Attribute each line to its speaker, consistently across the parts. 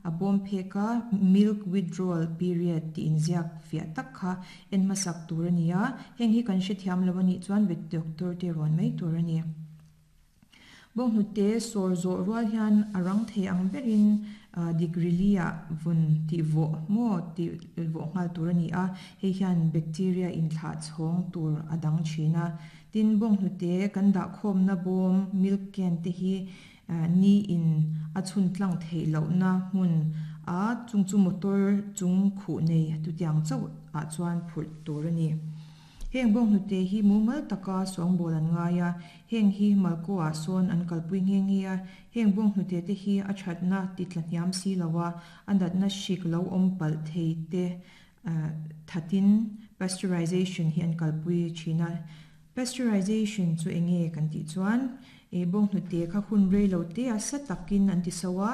Speaker 1: A bawm phek a milk withdrawal period tih inziak fiah tak kha en hmasak tur a ni a, heng hi kan hrethiam lo a nih chuan vet doctor te rawn mai tur a ni. Bawnghnute sawr zawh rual hian a rang thei ang berin degree li ah vun tih vawh maw tih vawh nghal tur a ni a, hei hian bacteria inthlah chhawng tur a dang thin a. Tin, bawnghnute kan dahkhawmna bawm, milk can, te hi ni in a chhun tlang theih lohna hmun a, chung chu motor chung khuh nei tutiang chauh ah chuan phurh tur a ni. Heng bawnghnute hi mumal taka sawngbawl an ngai a, heng hi Malko ah sawn an kalpui nghe nghe a, heng bawnghnute te hi a thatna ti tla hniam si lo a, a natna hrik lo awm palh thei te thatin pasteurization hi an kalpui thin a. Pasteurization chu enge kan tih chuan bawnghnute kha hun rei lo te a sa takin an ti so a,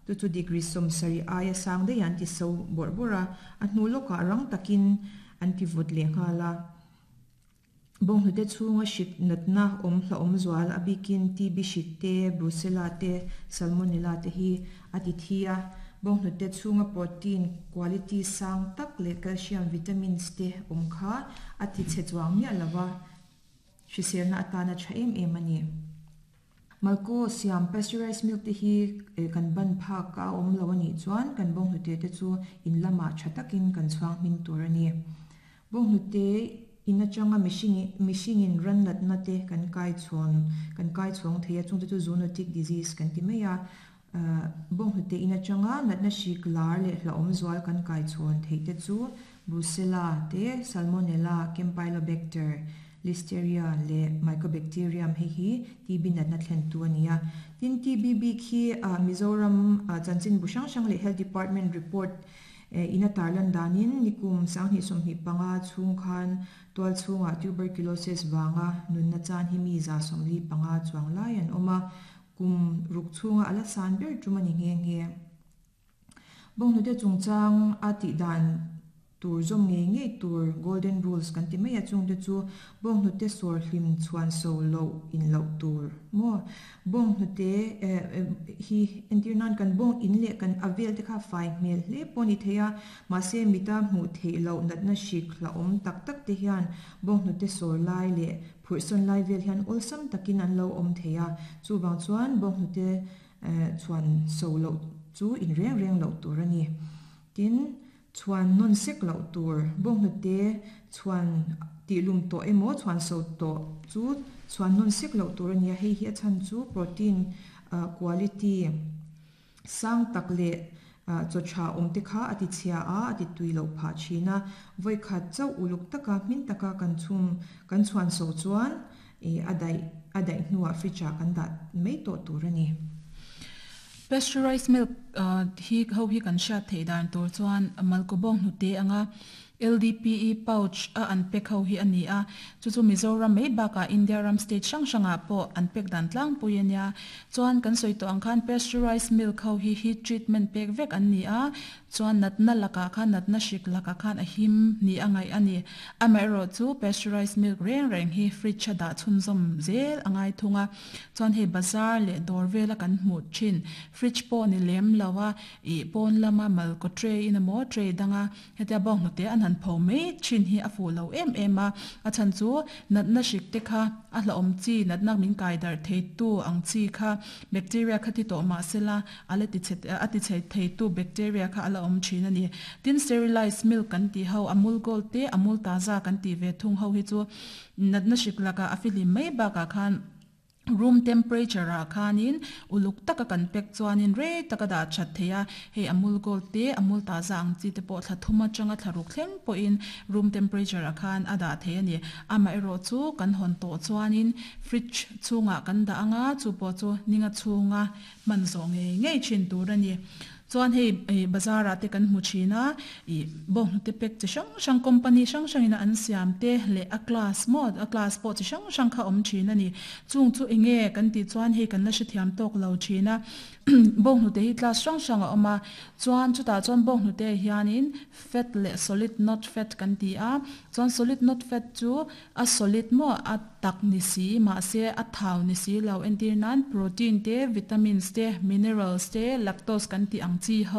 Speaker 1: chu chu degree 70 aia sang daih an ti so bawrh bawrh a, a hnu lawkah rang takin an ti vawt leh nghal a. Bawnghnute chhunga hrik natna awm hlauhawm zual a bikin TB hrik te, Brucella te, Salmonella te hi a ti thi a. Bawnghnute chhunga protein quality sang tak leh calcium, vitamins te awm kha a ti chhe chuang miah lo va, hriselna atana tha em em a ni. Malko siam pasteurized milk te hi kan ban phak a awm lo a nih chuan kan bawnghnute te chu in lamah tha takin kan chhuang hmin tur a ni. Bawnghnute in atanga mihringin ran natna te kan kai chhawn kan kai chhawng thei a, chungte chu zoonotic disease kan ti mai a. Bawnghnute in atanga natna hrik lar leh hlauhawm zual kan kai chhawn theih te chu Brucella te, Salmonella, Campylobacter, Listeria leh Mycobacterium hei hi TB natna thlentu a ni a. Tin, TB bik hi Mizoram chanchinbu hrang hrang leh Health Department report in a tarlan danin nikum 2025 chhung khan tual chhungah tuberculosis vanga nunna chan hi mi 75 chuang lai an awm a, kum ruk chhunga a la san ber tum a ni nghe nghe. Bawnghnute chungchang a tih dan tur zawm ngei ngei tur golden rules kan ti mai a, chungte chu bawnghnute sawr hlim chhuan so loh in loh tur maw? Bawnghnute hi entir nan kan bawng in leh kan a vel te kha fai hmel hle pawh a ni thei a, mahse mita hmuh theih loh natna hrik hlauhawm tak tak te hian bawnghnute sawr lai leh phurhsawn lai vel hian awlsam takin an lo awm thei a, chuvang chuan bawnghnute chhuan so loh chu in reng reng loh tur a ni. Tin, chhuan nawn sek loh tur, bawnghnute chhuan tihlum tawh emaw chhuan so tawh chu chhuan nawn sek loh tur a ni a, hei hi a chhan chu protein quality sang tak leh chaw tha awm te kha a ti chhia a, a ti tui loh phah thin a, vawikhat chauh uluk taka hmin taka kan chhum kan chhuan so chuan a daih a daih hnuah fridge ah kan dah mai tawh tur a ni.
Speaker 2: Pasteurized milk hi ho hi kan hriat theih dan tur chuan Malkawbawng hnute anga LDPE pouch a an pack ho hi a ni a, chu chu Mizoram mai bakah India ram state hrang hrangah pawh an pack dan tlangpui a nia. Chuan kan sawi tawh ang khan pasteurized milk ho hi heat treatment pek vek an ni a, Chuan natna lakah khan natna hrik lakah khan a him ni a ngaih a ni. Amaherawh chu pasteurized milk reng reng hi fridge a dah chhunzawm zel a ngai thung a. Chuan hei bazar leh dawr vela kan hmuh thin fridge pawh ni lem lo a, ih pawn lama malkaw tray in emaw tray danga hetia bawnghnute an han pho mai thin hi a fuh lo em em a. A chhan chu natna hrik te kha a hlauhawm chi natna min kai darh theitu ang chi kha bacteria kha ti tawh mah sela A la ti chhe a ti chhe theitu bacteria kha a la awm thin a ni. Tin, sterilized milk kan tih ho, Amul Gold te, Amul Taza kan tih ve thung ho hi chu natna hrik lakah a fihlim mai bakah khan room temperature ah khanin uluk taka kan pack chuanin rei taka dah that thei a. Hei Amul Gold te, Amul Taza ang chi te pawh thla thum atanga thla ruk thleng pawhin room temperature ah khan a dah thei a ni. Amaherawh chu kan hawn tawh chuanin fridge chhungah kan dah anga chu pawh chu ninga chhunga hman zawh ngei ngei thin tur a ni. Chuan hei ih bazar ah te kan hmu thin a, ih bawnghnute pack chi hrang hrang company hrang hrang in a an siam te leh a class maw a class pawh chi hrang hrang kha a awm thin a ni. Chung chu eng nge kan tih chuan hei kan la hrethiam tawk lo thin a, bawnghnute hi class hrang hrang a awm a, chuan chutah chuan bawnghnute ah hianin fat leh solid not fat kan ti a, chuan solid not fat chu a solid maw a tak ni si, mahse a thau ni si lo. Entir nan protein te, vitamins te, minerals te, lactose kan tih ang chi ho.